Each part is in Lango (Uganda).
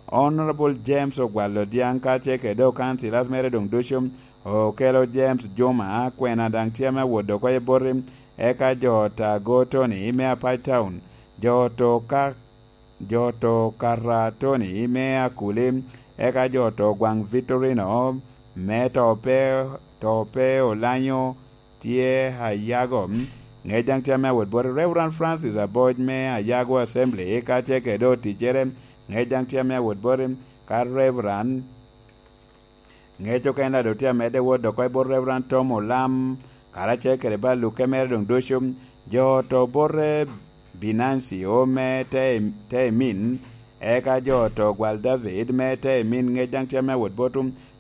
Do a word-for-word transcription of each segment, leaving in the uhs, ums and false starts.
Honorable James Ogwal Odiaŋ kacel kede okansila mere doŋ ducu, Okelo James Juma, kwena daŋ tye ame awot dok oko i boti, eka jo ta go Tony me Apac Town, jo to ka, jo to kata Tony me Akuli, eka jo to gwaŋ Victorino me to pe, to pe Olanyo tye Ayago. Ŋec daŋ tye ame awot boti Reverend Francis Aboc me Ayago Assembly, kacel kede oticcere, ŋec daŋ tye ame awot boti ka Reverend Ŋec okene daŋ doŋ tye amedde wot dok oko i bot Reverend Tom Olam, karacel kede ba lukke mere doŋ ducu, jo to bote Binancio me te, te emin, eka jo to gwal David me te emin, ŋec daŋ tye ame awot bot,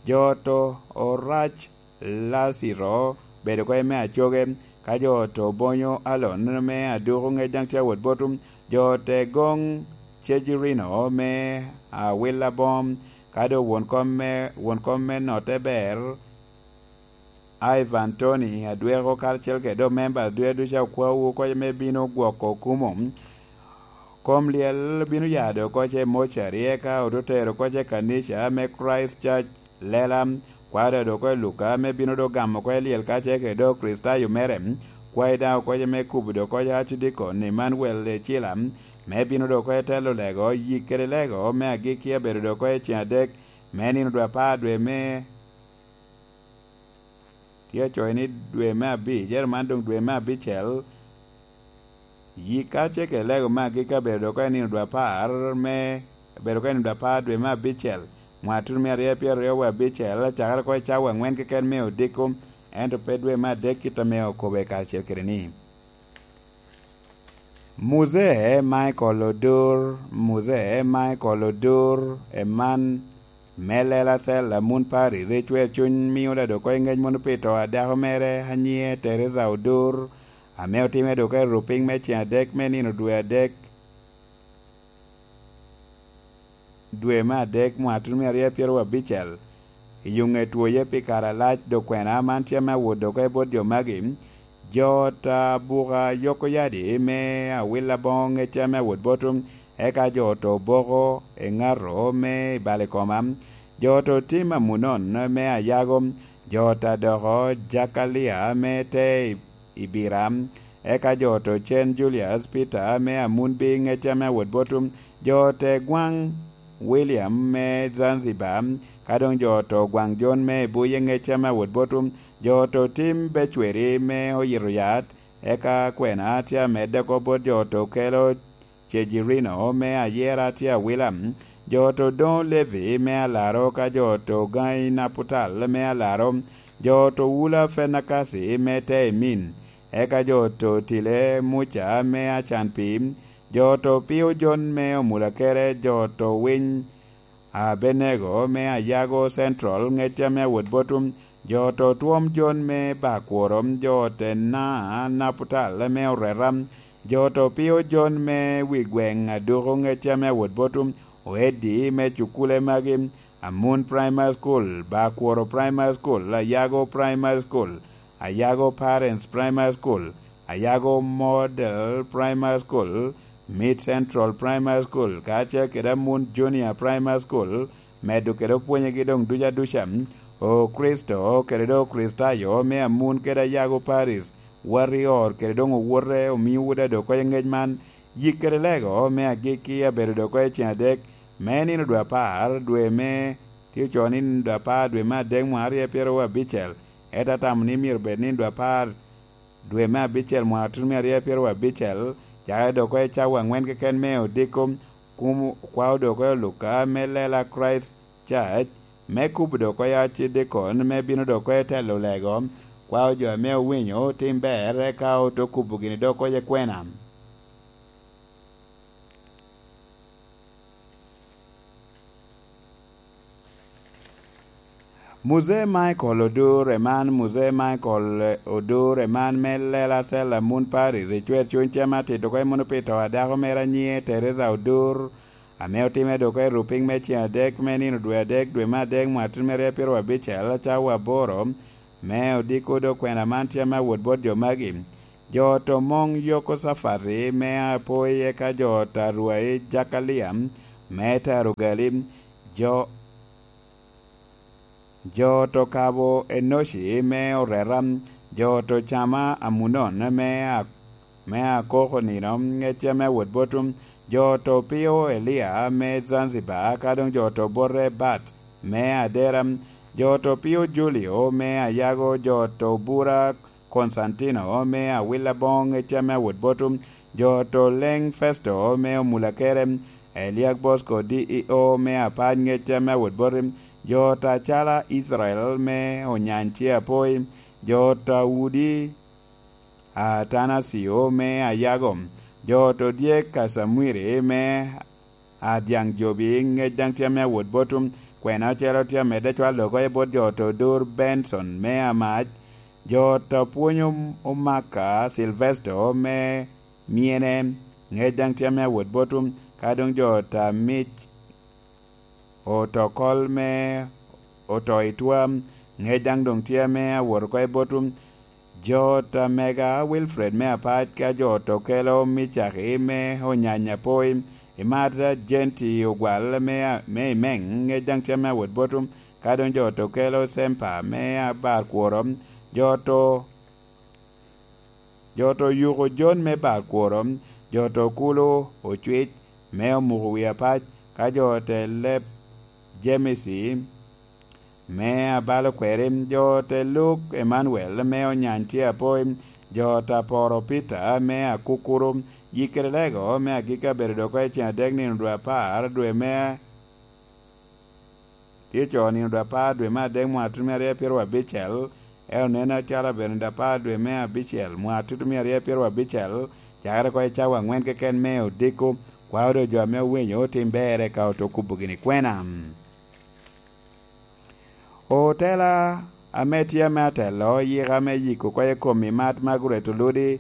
jo to orac Laciro bedo oko i me acoge, ka jo to bonyo Alon me aduku, ŋec daŋ tye awot bot, jo te goŋ Cejirino me awila bom, ka doŋ won kom me, won kom me notte ber, Ivan Tony Adweko karacel kede omemba adwe ducu akwawu oko me bino gwoko kumo. Kom lyel bino ya dok oko i mocari, eka ote tero oko i kanica me Christ Church Lela, kwaro dok oko i Luka ame bino dok gamo oko i lyel kacel kede dok Kricitayo mere, kwayi daŋ oko me kubo dok oko i Archdeacon Emmanuel Ecila, me bino dok oko i telo lego, yik kede lego me agikki abedo dok oko i ceŋ adek me nino dwe apar dwe me, tye acoyo ni dwe me abic, ero man doŋ dwe me abicel, yik kacel kede lego me agikki abedo dok oko i nino dwe apar me, abedo oko i nino dwe apar dwe me abicel, mwaka tuno mia aryo pyeraryo wa abicel, acakere oko i cawa aŋwen keken me odiko, ento pe dwe me adek kit ame okobo i karacel kede ni. Muzee Michael Odur, Muzee Michael Odur, eman me lela cel a Mun Paris, ecwer cuny mio da dok oko i ŋec mono pi to a dako mere a nyiŋe Teresa Odur, ame otime dok oko i rupiny me ceŋ adek me nino dwe adek, dwe me adek, mwaka tuno mia aryo pyeraryo abicel, i yo ŋe twoye pi kare alac, dok kwena man tye ame awot dok oko i bot jo magi, jo ta buka yoko yadi me awila boŋo ŋecce ame awot bot, eka jo to boko i ŋato me i bal i koma, jo to tim amunon me ayago, jo ta doko Jakalia me te i Bira, eka jo to cen Julius Peter me Amunbi ŋecce ame awot bot, jo te gwaŋ William me Zanzibar, ka doŋ jo to gwaŋ John me Ebuye ŋecce ame awot bot, jo to tim becweri me oyito yat, eka kwena tye amedde oko bot jo to kelo Cejirino me Ayera tye awila, jo to doŋo Levi me Alaro ka jo to gaŋi Naputal me Alaro, jo to wula Fenakasi me te emin, eka jo to tile Muca me acan pi, jo to pio Jon me omula kere, jo to winy Abenego me Ayago Central ŋecce ame awot bot, jo to twom Jon me Bakworo, jo te na Naputal me Oreta, jo to pio Jon me wi gweŋ Aduku ŋecce ame awot bot, Oeddi me cukule magi, Amun Primary School, Bakworo Primary School, Ayago Primary School, Ayago Parents Primary School, Ayago Model Primary School, Mid Central Primary School, kacel kede Amun Junior Primary School, medo kede opwonyegi doŋ duca duca, Okricito kede doŋ Okricitayo me Amun kede Ayago Paris, Warrior kede doŋ owote omio woda dok oko i ŋec man, yik kede lego me agikki abedo dok oko i ceŋ adek me nino dwe apar, dwe me, tye ocoo ni nino dwe apar dwe me adek mwaka aryo pyeraryo abicel, ento atamo ni myero bed nino dwe apar dwe me abicel mwaka tuno mia aryo pyeraryo abicel, cakere dok oko i cawa aŋwen keken me odiko, kum kwao dok oko i Luka me lela Christ Church, me kubo dok oko i Archdeacon, me bino dok oko i telo lego, kwao jo ame owinyo otim ber, eka oto kubo gini dok oko i kwena. Muzee Michael Odur eman, Muzee Michael Odur eman me lela cel a Mun Paris, ecwer cuny cem atit oko i mono pi to a dako mere a nyiŋe Teresa Odur, ame otimme dok i rupiny me ceŋ adek me nino dwe adek, dwe me adek, mwaka tuno me aryo pyeraryo abicel, cawa aboro, me odiko dok kwena man tye ame awot bot jo magi. Jo to moŋ Yokosafati me Apoi, eka jo ta Rwai Jakalia me ta Rugali, Jo, jo to kabo Enoci me oreta, jo to cama Amunon me a-, me akoko nino, ŋecce me awot botwu, jo to pio Elia me Zanzibar, ka doŋ jo to bote Bat me Adera, jo to pio Julio me Ayago, jo to bura Konstantino me awil aboŋo ŋecce me awot botwu, jo to leŋ Festo me omulakere, Eliak Bosco D E O me apac ŋecce me awot boti, jo ta cala Icrael me onyany ce apoi, jo ta udi Atanasio me Ayago, jo to dyek Kasamwiri me Adyaŋ Jobi ŋec daŋ tye ame awot botwu, kwena ocele tye amedde cwalo oko i bot jo to Dur Benson me Amac, jo to pwonyo Omaka Silvesto me Myene, ŋec daŋ tye ame awot botwu, ka doŋ jo ta mic oto kol me oto i twa, ŋec daŋ doŋ tye ame awot oko i botwu, jo ta mega Wilfred me Apac, ka jo to kelo Micaki me Onyanya Poi, imat Jenti Ogwal me, me Imeŋ, ŋec daŋ tye ame awot botwu, ka doŋ jo to kelo Sempa me Abar Kworo, jo to Jo to yuko Jon me bar kworo, jo to kulo ocwic me omuko wi apac, ka jo te leb Jemisi me abalo kweri, jo te luk Emanuel me onyany tye apoi, jo ta poro Pita me akukuru, yikere lego me agikki abedo doko i cen adek nino dwe apar, dwe me Tye co nino dwe apar dwe me adek mwaka tutumia aryo pyeraryo abicel, en oneno acalo abedo nino dwe apar dwe me abicel mwaka tutumia aryo pyeraryo abicel, cakere oko i cawa aŋwen keken me odiko, kwao doŋ jo ame owinyo otim ber eka oto kubo gini kwena. Otela ame tye ame atelo yika me yiko kwo i kom i mat Margaret Oludi,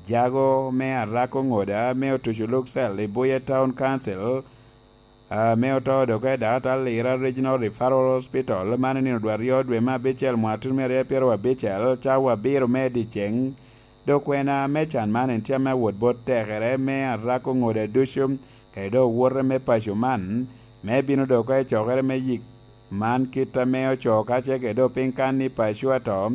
jago me Arako Ŋoda me otuco Luxel i Buye Town Council, ame oto dok i Dakatallira Regional Referral Hospital, man i nino dwe aryo dwe me abicel mwaka tutumia aryo pyeraryo abicel, cawa abiro me dyeceŋ. Dok kwena me can man en tye ame awot bot tekere me Arako Ŋoda ducu, kede dok owote me paco man, me bino dok i cokere me yik man kit ame ocoo kacel kede dok piny kan ni paco ato.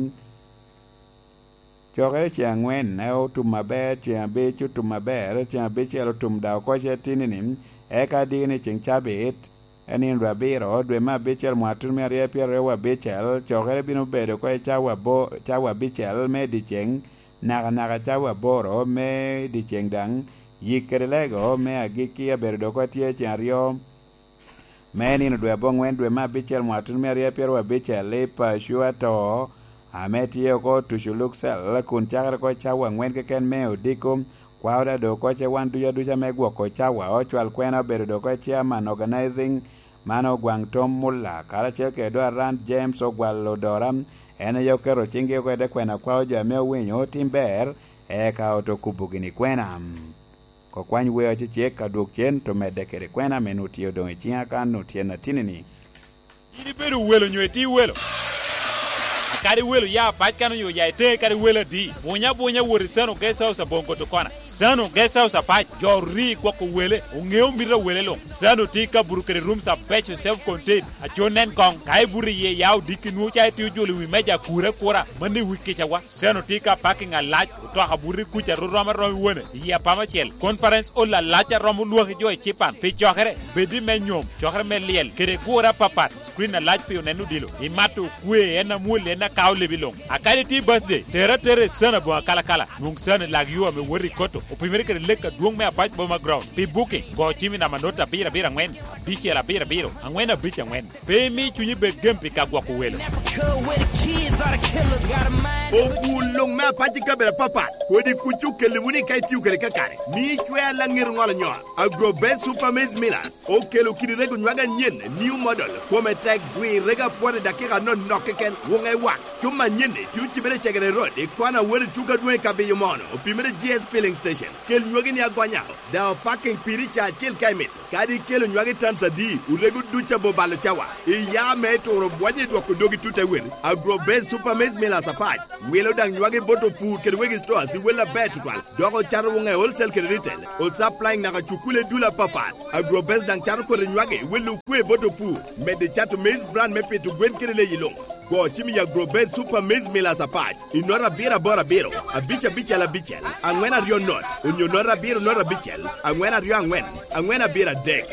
Cokere ceŋ aŋwen, otum aber, ceŋ abic otum aber, ceŋ abicel otum daŋ oko ce tinini, eka diki ni ceŋ cabit, en nino dwe abiro, dwe me abicel mwaka tutumia aryo pyeraryo abicel, cokere bino bedo oko i cawa abo-, cawa abicel me dyeceŋ, nakanaka cawa aboro me dyeceŋ daŋ, yik kede lego me agikki abedo dok oko tye ceŋ aryo, me nino dwe aboŋwen dwe me abicel mwaka tutumia aryo pyeraryo abicel i paco ato, ame tye oko tuco Luxel, kun cakere oko cawa aŋwen keken me odiko, kwao daŋ dok oko ce wan ducu aduca me gwoko cawa, ocwal kwena obedo dok oko chairman organizing, man Ogwaŋ Tom Mulla, karacel kede dok Aran James Ogwal Odora, en aye oketo ciŋgi oko i te kwena kwao jo ame owinyo otim ber, eka oto kubo gini kwena. Kokwany weo acecek ka dwok cen, to medde kede kwena ame nwoŋo tye odoŋ i ciŋa kan nwoŋo tye atinini. In ibedo welo nyo itye welo? Kadi welo ya pac kan onyo ya iteŋe kadi welo adi, bunya bunya wot i Sano Guest House aboŋo Kotokona. Sano Guest House apac, jo ri gwoko wele, oŋeo mito a wele luŋ. Sano tye i kabuto kede rooms abeco self contained, aco nen koŋ. Ka ibuto iye ya odiki nwoŋo ca itye ojolo i wi meja akura akura, mano i wi kicawa. Seno tye ka parking alac, otoka buto i kuca ru rom arom i wone, i apama acel. Conference hall alac a romo lwaki jo i Cipan. Pi cokere, bed i me nyom, cokere me lyel, kede gure apapat, screen alac pi oneno odilo. Imato okwe, en amwol, en akao lebi luŋ. A kadi tye birthday, tere atera i Seno aboŋo akalakala. Nwoŋ Seno i lak yo ame wot i Koto, opimere kede lek adwoŋ me Apac Boma Ground. Pi booking, go cim i namba not abiro abiro aŋwen, abicel abiro abiro, aŋwen abic aŋwen. Pe imi cunyi bed gem pi ka gwoko welo. Obul luŋ me apac i kabedo apapat, kodi kuc okelli wunu i ka itio kede kakare. Mi icwer laŋet oŋolo nyo. Agro Best Super Maize Millers okelo kidi rego nywag anyen, new model, kome tek, dwi rego apwot i dakika anonok keken, wuŋe wak. Cuma anyenni tye ocibere i Cegere Road, i kona wot i tuko adwoŋ i Kabiyo Mono, opimere G S Filling Station. Kel nywagi ni agonya, daŋ opaking piri ca acel ka imito. Kadi ikelo nywagi tans adi, orego duc abo balo cawa. Iya me turo bwonye i dwoko dogi tut awel. Agro Base Super Maize Millers apac. Wilo daŋ nywagi bot opur kede wegi stores i wel aber tutwal. Dok ocato woŋe wholesale kede retail. O supplying naka cukule dul apapat. Agro Base daŋ cato kodi nywagi i wel okwe bot opur. Medde cato maize bran me pito gwen kede leyi luŋ. Go cim i Agro Base Super Maize Millers apac i nota abiro aboro abiro, abic abicel abicel, aŋwen aryo not, onyo nota abiro not abicel, aŋwen aryo aŋwen, aŋwen abiro adek.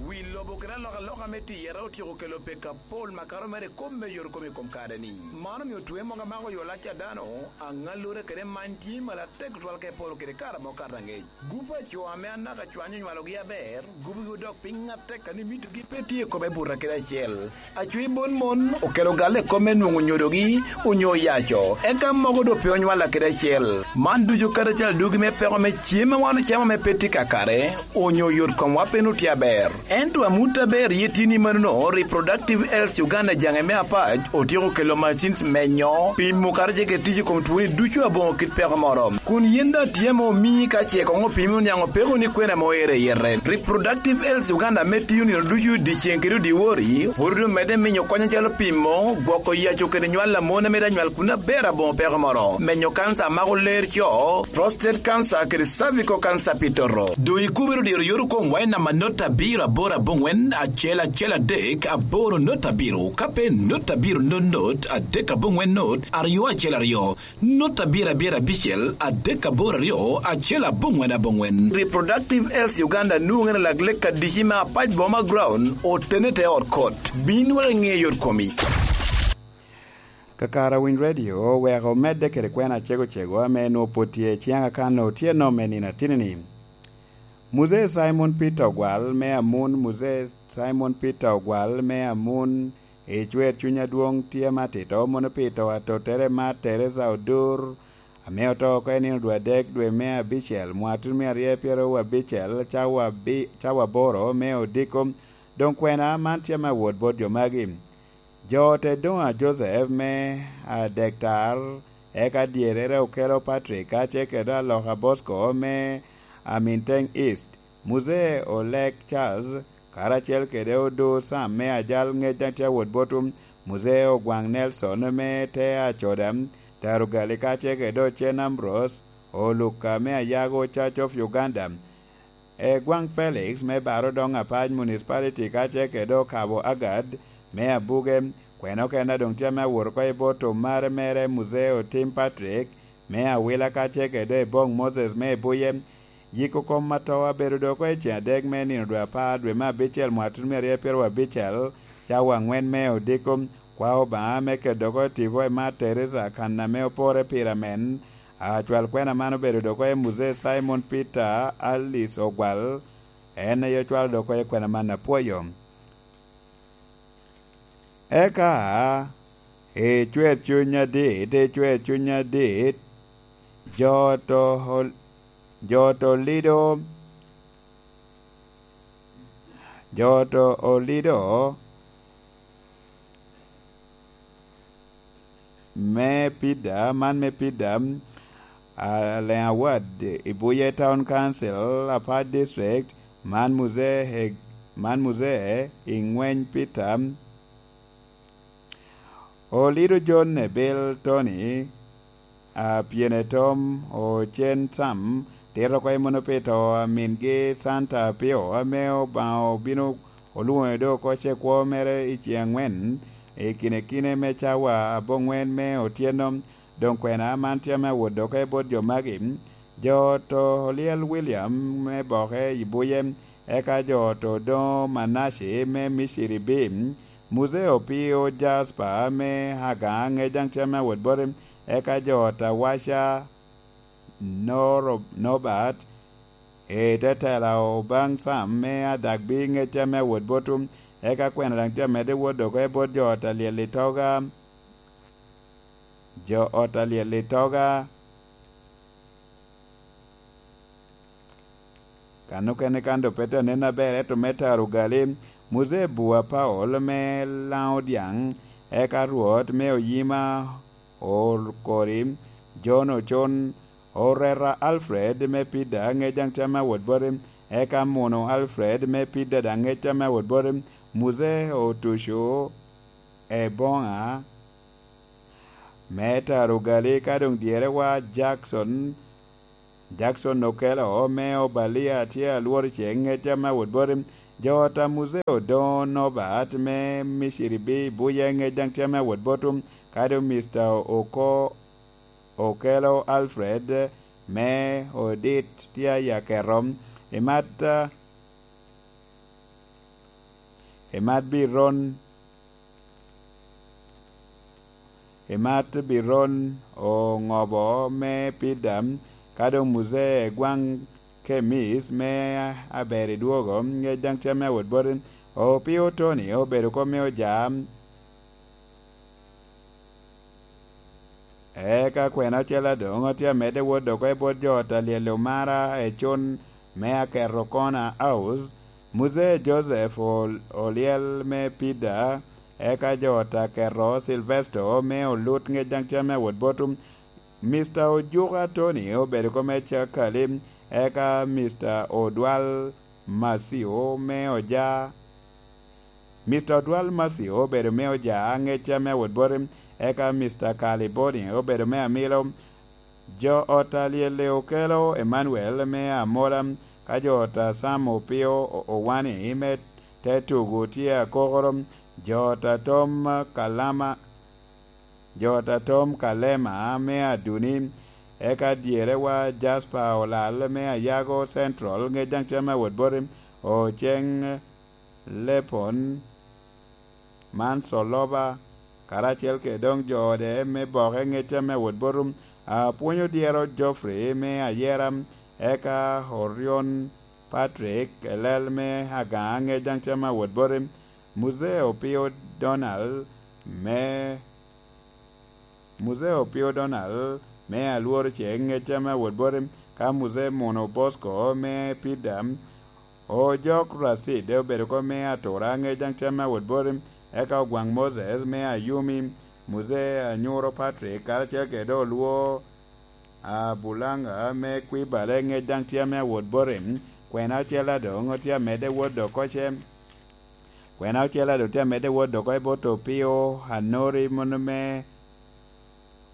Wi lobo kede alokaloka me tiyere otyeko kelo pek apol makato mere i kop me yot kom i kom kare-ni. Man omio twe mogo amako yo lac a dano, aŋallure kede many tye malo atek tutwal ka iporo kede kare amo kato aŋec. Gup a co ame anaka cwany onywalogi aber, gubogi odok piny atek a ni mitogi pe tye i kome buto kede acel. Acwi bon mon okelo galle i kop me nwoŋo nyodogi onyo yaco, eka mogo doŋ pe onywalla kede acel. Man ducu kadi acel adugi me peko me cem a wan ocamo ame pe tye kakare, onyo yot komwa pe nut tye aber. Ento amut aber iye tye ni manono, Reproductive Health Uganda jaŋe me apac otyeko kelo machines menyo, pimo kato ce kede tic i kom twoni ducu aboŋo kit peko moro. Kun yin daŋ tye ame omii ka ce koŋ opimi oniaŋ opeko ni kwena ame oero i yete. Reproductive Health Uganda ame tiyo nino ducu dyeceŋ kede dyewor, pwod omedde miyo kony acalo pimo, gwoko yaco kede nywal a mon ame daŋ nywal kun aber aboŋo peko moro, menyo kanca a mako ler co, prostate cancer kede cervical cancer pi toto. Doŋ ikubere odiro yot okomwa i namba not abiro aboro aboŋwen acel acel adek aboro not abiro, ka pe not abiro not not adek aboŋwen not aryo acel aryo. Not abiro abiro abicel adek aboro aryo acel aboŋwen aboŋwen. Reproductive Health Uganda nwoŋere lak lek adici me apac boma ground otene te ot kot. Bin wek iŋe yot komi. Kakara Winy Radio oweko omedde kede kwena acego cego ame nwoŋo pwod tye ciaŋ akan otyeno me nino atinini. Muzee Simon Peter Ogwal me Amun, Muzee Simon Peter Ogwal me Amun, i cwer cuny adwoŋ tye matito mono pito atottere ma Teresa Odur, ame oto oko i nino dwe adek dwe me abicel mwatun me aryo pyero abicel cawa abi-, cawa aboro me odiko. Doŋ kwena man tye me awot bot jo magi. Jo te Doŋa Joseph me Adektar, eka dyerere okelo Patrick, ka ce kede aloka Bosco me Aminteng East, Muzee Olek Charles, karacel kede Odo Sam me Ajal ŋec daŋ tye awot botwu, Muzee Ogwaŋ Nelson me te Acoda, Tarugali ka ce kede Ocen Ambrose, Oluka me Ayago Church of Uganda, Egwaŋ Felix me Baro Doŋ Apac Municipality ka ce kede Okabo Agad me Abuge, kwena okene a doŋ tye ame awot oko i bot omare mere Muzee Otim Patrick me Awila ka ce kede Eboŋ Moses me Ibuye. Yiko kom ato abedo doŋ oko i ceŋ adek me nino dwe apar dwe me abicel mwaka tutumia aryo pyeraryo abicel, cawa aŋwen me odiko. Kwa Obaŋa me keto oko tipo i Mar Teresa kan ame opore pire amen. Acwal kwena man obedo dok oye Muzee Simon Peter Alice Ogwal, en aye ocwalo dok oye kwena man apwoyo. Eka, i cwer cuny adit, i cwer cuny adit, jo to, jo to lido, jo to olido, me Pida, man me Pida, Aleŋ Awad, i Buye Town Council, Apac District, man Muzee, man Muzee i ŋweny Pida. Olido John Ebil Tony, a pyene Tom Ocen Sam, tito oko i mono pi to a mingi Santa Apio, ame Obaŋa obino olwoŋe do oko ce kwo mere i ceŋ aŋwen, i kine kine me cawa aboŋwen me otyeno. Doŋ kwena man tye ame awot doke bot jo magi, jo to Olyel William me Boke i Buye, eka jo to Odoŋo Manaci me Miciri Bim, Muzee Opio Jasper me Agaŋa ŋec daŋ tye ame awot bote, eka jo to Awaca Noro-, Nobat, i te tela Obaŋ Sam me Adagbi ŋec tye ame awot botwu, eka kwena daŋ tye amedde wot doke bot jo to Alyel i Toga, jo ot Alyel i Toga. Kan okene kan doŋ pe te nen aber, ento me taro ogali, Muzee Bua Paul me Laŋo Dyaŋ, eka Rwot me Oyima Okori, John Ocon, Orera Alfred me Pida, ŋec daŋ tye ame awot boti, eka Muno Alfred me Pida daŋ ŋec tye ame awot boti, Muzee Otuco Eboŋa me Tarugali, ka doŋ dyerewa Jackson, Jackson Okelo me Obalia tye alworo ceŋ ŋec tye ame awot boti, jo ot a Muzee Odoŋo Nobat me Miciri bi Buye ŋec daŋ tye ame awot boti, ka doŋ Mister Oko Okelo Alfred me Odit tye aye aketo. Imat, imat Biron, imat Biron Oŋobo me Pida, ka doŋ Muzee Gwaŋ Kemis me Aber i Dwogo, ŋec daŋ tye ame awot boti. Opio Tony obedo kop me Oja, eka kwena ocel adoŋo tye amedde wot dok i bot jo ot a lyel Omara Econ me Aketo Corner House, Muzee Joseph Ol-, Olyel me Pida, eka jo ot Aketo Silvesto me Olut ŋec daŋ tye ame awot boti, Mister Ojuka Tony obedo kop me Cakali, eka Mister Odwal Matthew me Oja, Mister Odwal Matthew obedo me Oja ŋec tye ame awot boti, eka Mister Kaliboni obedo me Amilo. Jo ot a lyel Okelo Emmanuel me Amola, ka jo ot a Sam Opio O-, Owani me te tugo tye akokoro, jo ot a Tom Kalama, jo ot a Tom Kalema me Aduni, eka dyerewa Jasper Olal me Ayago Central ŋec daŋ tye ame awot boti, Oceng Lepon man Coloba, karacel kede doŋ jo ode me Boke ŋec tye ame awot boti, apwony odyero Geoffrey me Ayera, eka Orion Patrick Elel me Agaŋa ŋec daŋ tye ame awot boti, Muzee Opio Donald me Muzee Opio Donald me Alworo ceŋ ŋec tye ame awot boti, ka Muzee Muno Bosco me Pida, Ojok Racid obedo kop me Atura ŋec daŋ tye ame awot boti, eka Ogwaŋ Moses me Ayumi, Muzee Anyuro Patrick karacel kede Olwo Abulanga me Kwibale ŋec daŋ tye ame awot boti, kwena ocel adoŋo tye amedde wot dok oce. Kwena ocel a doŋ tye amedde wot dok i bot Opio Anori mano me,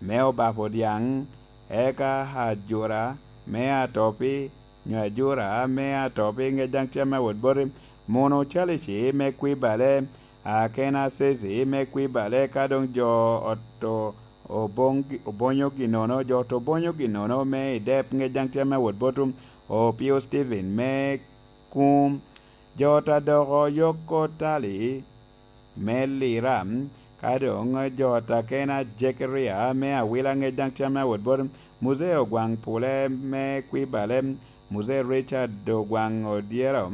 me Obapo Dyaŋ, eka Ajura me Atopi, nyo Ajura me Atopi ŋec daŋ tye ame awot boti, Muno Calici me Kwibale, Akena Ceci me Kwibale, ka doŋ jo oto Obonyo Ginono, jo oto Obonyo Ginono me Idep ŋec daŋ tye ame awot boti, Opio Steven me Kum, jo ot a Doko Yoko Tali me Lira, ka doŋ jo ot a Kena Jekaria me Awila ŋec daŋ tye ame awot boti, Muzee Ogwaŋ Pule me Kwibale, Muzee Richard Ogwaŋ Odyero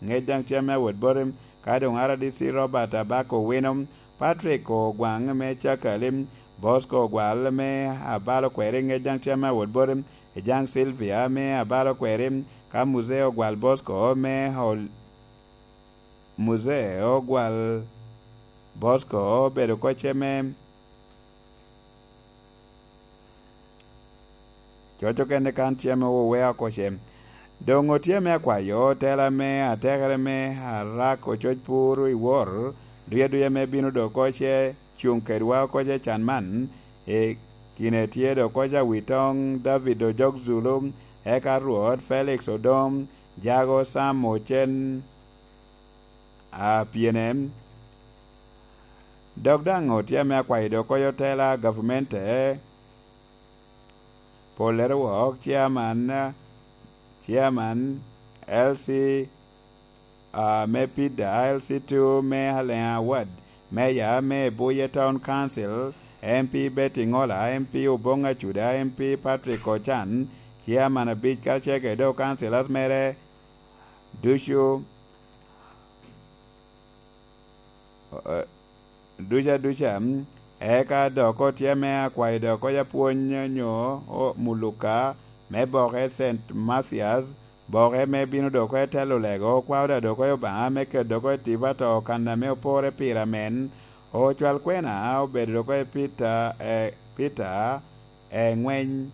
ŋec daŋ tye ame awot boti, ka doŋ R D C Robert Abako Owino, Patrick Ogwaŋ me Cakali, Bosco Ogwal me Abalo Kweri ŋec daŋ tye ame awot boti, Ejaŋ Sylvia me Abalo Kweri, ka Muzee Ogwal Bosco me Ol-, Muzee Ogwal Bosco obedo kocce me coco kene kan tye ame owea kocce. Doŋ otye me akwayo tela me atekere me Arak Ococ Pur i Wor, duya duya me bino dok kocce cuŋ kedwa kocce can man, i kine tye dok kocce Awitoŋ David Ojok Zulu, eka Rwot Felix Odom, Jago Sam Ocen, a pyene. Dok daŋ otye ame akwayo dok kocce tela gavmente, Pollere wok, chairman, chairman L C, ah, me Pida, L C two me Aleŋa Ward, Mayor me Buye Town Council, M P Betty Ŋola, M P Oboŋ Acuda, M P Patrick Ochan, chairman abic, karacel kede dok councillors mere ducu, eh, duca duca, eka dok otye ame akwayo dok kocce apwony nyo o-, muluka me boke Saint Mathias, boke me bino dok kocce telo lego, kwao da dok kocce Obaŋa me keto dok kocce tipo ato kan ame opore pire amen, Ocwal kwena obedo dok i Peter, eh, Peter, eh, Ngweny,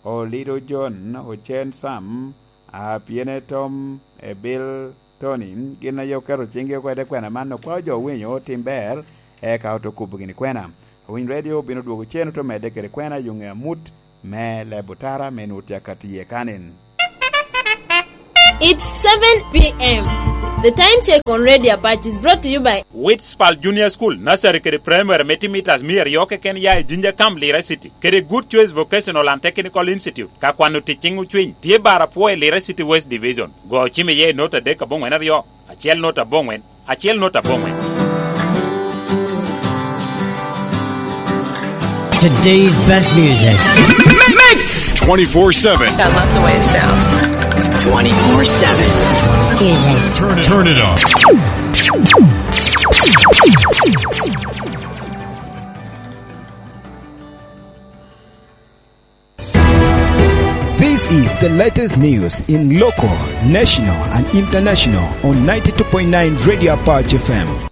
Olido John, Ocen Sam, ah, Pyene Tom, eh, Bill Tony, gin aye oketo ciŋgi oko i te kwena man, okwao jo owinyo otim ber, eka ote kubo gini kwena. Owiny Radio obino dwogo cen ote medde kede kwena i yo ŋe amut me leb otara me nwoŋo tye akatti iye kanen. It's seven p m. The time check on Radio Apache is brought to you by Witspal Junior School, Nursery kede Primary me timitas mia aryo keken ya i Jinja Camp, Lira City, kede Good Choice Vocational and Technical Institute. Ka kwano tic ciŋ ocwiny, tye bar apwo i Lira City West Division. Go ocim iye i nota adek aboŋwen aryo, acel nota aboŋwen, acel nota aboŋwen. Today's best music. Mix twenty-four seven. I love the way it sounds. Twenty-four seven. Music. Turn it, turn it up. This is the latest news in local, national, and international on ninety-two point nine Radio Apache F M.